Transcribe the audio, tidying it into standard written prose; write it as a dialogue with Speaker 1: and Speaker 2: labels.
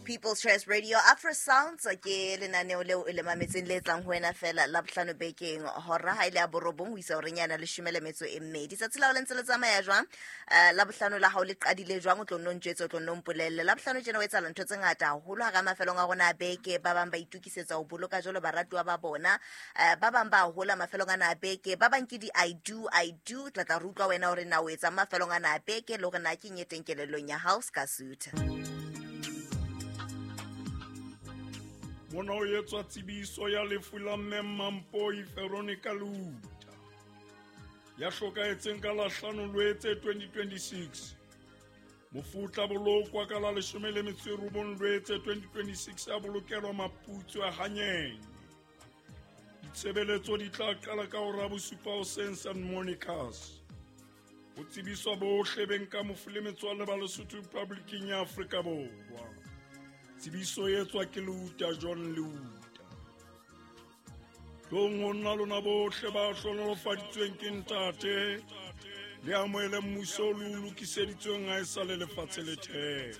Speaker 1: People's Choice Radio. Afro Sounds ke lenaneo leo e le mametseng le tlang ho wena fela la bohlano bekeng, hora ha ile ya borobong ho isa horeng yana leshome le metso e mmedi. Tsatsi la ho le ntse le tsamaya jwang? La bohlano la hao le qadile jwang? O tlo nno ntjwetse, o tlo nno mpolelle. La bohlano tjena o etsahala ntho tse ngata haholo hara mafelong a rona a beke. Ba bang ba itokisetsa ho boloka jwalo baratuwa ba bona. Ba bang ba hola mafelong ana a beke, ba bang ke di I do, I do. Tla tla re utlwa wena hore na o etsang mafelong ana a beke, le hore na ke eng e teng kelellong ya hao ska sutha.
Speaker 2: Mona ho etswa tsebiso ya lefu la Mme Mampoi Veronica Luta, ya hlokahetseng ka la 5 Lwetse 2026. Mofu o tla bolokwa ka la 19 Lwetse 2026, a bolokelwa Maputsu a Hanyeng. Ditshebeletso di tla qala ka hora bosupa hoseng St Monica's. Ho tsebiswa bohle beng ka mofu le metswalle ba Lesotho Republiking ya Afrika Borwa. Tsebiso e etswa ke Leuta John Leuta. Tlong ho nna lona bohle ba hlohonolofaditsweng ke Ntate, le amohele mmuso o le o lokiseditsweng ha e sa le lefatshe le thehwa.